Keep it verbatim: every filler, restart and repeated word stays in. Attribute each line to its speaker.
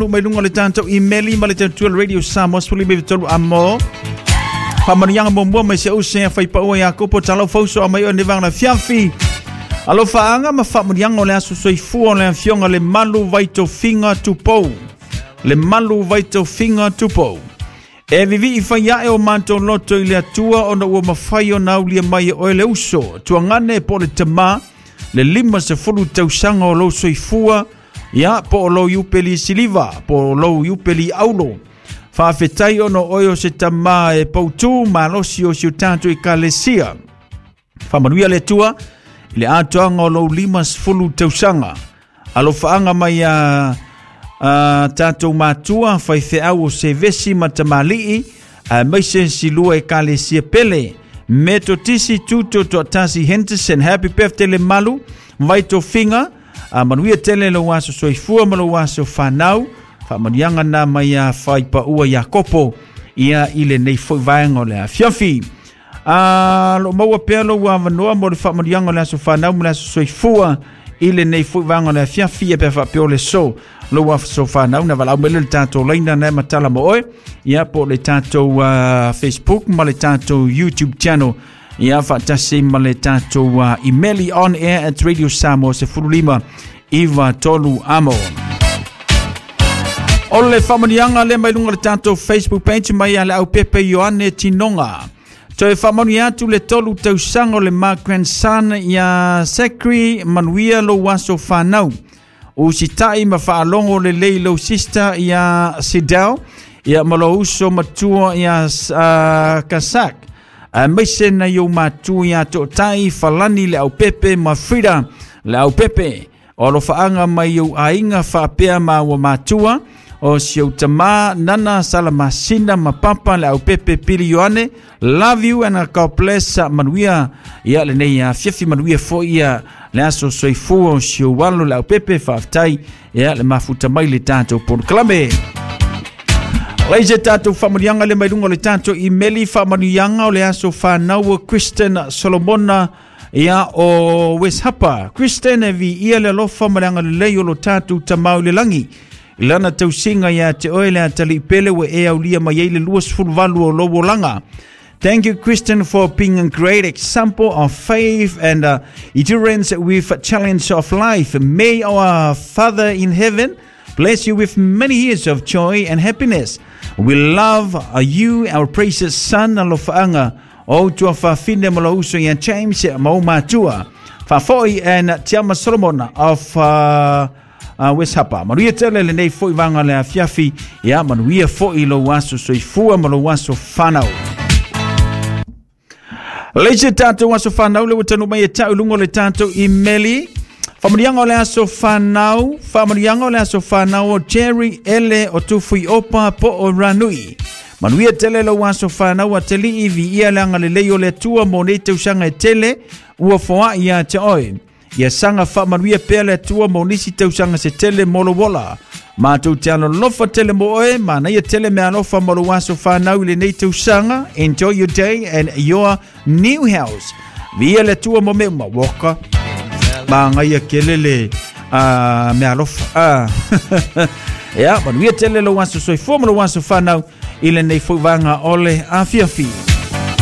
Speaker 1: Mai luga o le tatou imeli ma le tautua Radio Samoa sefulu lima tolu amo. Faamanuiaga muamua mai se use a faipaua Iakopo talau fauso a mai o ne vaega fiafi. Alofaaga ma faamanuiaga o le aso soifua o le afioga le Malu Vaitofiga Tupou. Le Malu Vaitofiga Tupou. E vivii fai ae o matou loto i le Atua ona ua mafai ona aulia mai e oe le uso. Tuagane po o le tamā le lima sefulu tausaga o lou soifua ia po o lou iupeli siliva po o lou iupeli aulo. Faafetai ona oe o se tamā e pautū malosi o si o tatou ekalesia. Faamanuia le Atua i le atoaga o lou lima sefulu tausaga. Alofaaga mai a a tatou matua faifeau o Sevesi ma Tamalii aemaise silua ekalesia pele. Metotisi Tuto Toatasi Henderson. Happy birthday le Malu Vaitofiga. A manuia tele lou aso soifua ma lou aso fanau. Faamanuiaga na mai a faipaua Iakopo ia i lenei foi vaega o le afiafi. A lo maua pea lou avanoa mo le faamanuiaga o le aso fanau ma le aso soifua i lenei foi vaega o le afiafi e pe faapea o le so lou aso fanau na valaau mai le tatou laina na e matala ma oe ia po o le tatou uh, Facebook ma le tatou YouTube channel ia faatasi ma le tatou uh, email on air at Radio Samoa sefulu lima iva tolu amo. O le faamanuiaga le mai luga le tatou Facebook page mai a le au pepe Ioane Tinoga. Toe faamanuia atu le tolu tausaga o le ma grandson ia Zachary manuia lou aso fanau. Usitai ma faalogo lelei lou sister ia Sidel ia ma lou uso matua ia uh, Kasak. Aemaise na iou matua ia Tootai Falani le au pepe ma Frida le au pepe. O alofaaga mai ou aiga faapea ma ua matua o si ou tamā Nana Salamasina ma Papa le au pepe Pili Ioane. Love you and God bless. Manuia ia lenei afiafi manuia foi ia le aso soifua o si ou alo le au pepe faafetai ia le mafuta mai le tatou polokalame. Lai se tatou faamanuiaga le mai luga o le tatou imeli faamanuiaga o le aso fanau o Kristen Solomona ia o West Hapa. Kristen e viia le alofa ma le agalelei o lo tatou tamau i le lagi. I lana tausiga ia te oe le atalii pele ua e aulia mai ai le lua sefulu valu o lou olaga. Thank you, Kristen, for being a great example of faith and uh, endurance with challenge of life. May our Father in heaven bless you with many years of joy and happiness. We love you, our precious son, alofaaga o tuafafine ma lou uso ia James ma ou matua. Faafoi and Tiama Solomon of uh, uh, West Hapa. Manuia tele lenei foi vaega le afiafi ia manuia foi lou aso soifua ma lou aso fanau. Leise tatou aso fanau le ua taunuu mai e ta'u luga o le tatou imeli. Faamanuiaga o le aso fanau, faamanuiaga o le aso fanau o Jerry Ele o Tufui Opa po o Ranui. Manuia tele lou aso fanau a telii viia le agalelei o le Atua mo nei tausaga e tele ua foai ia te oe. Ia saga faamanuia pea le Atua mo nisi tausaga se tele mo lou ola. Matou te alolofa tele mo oe, manaia tele meaalofa mo lou aso fanau i lenei tausaga. Enjoy your day and your new house. Viia le Atua mo mea uma. Woka. Magaia kele le uh, meaalofa. Uh. Ia, manuia tele lou aso soifua ma lou aso fanau i lenei foi vaega o le afiafi.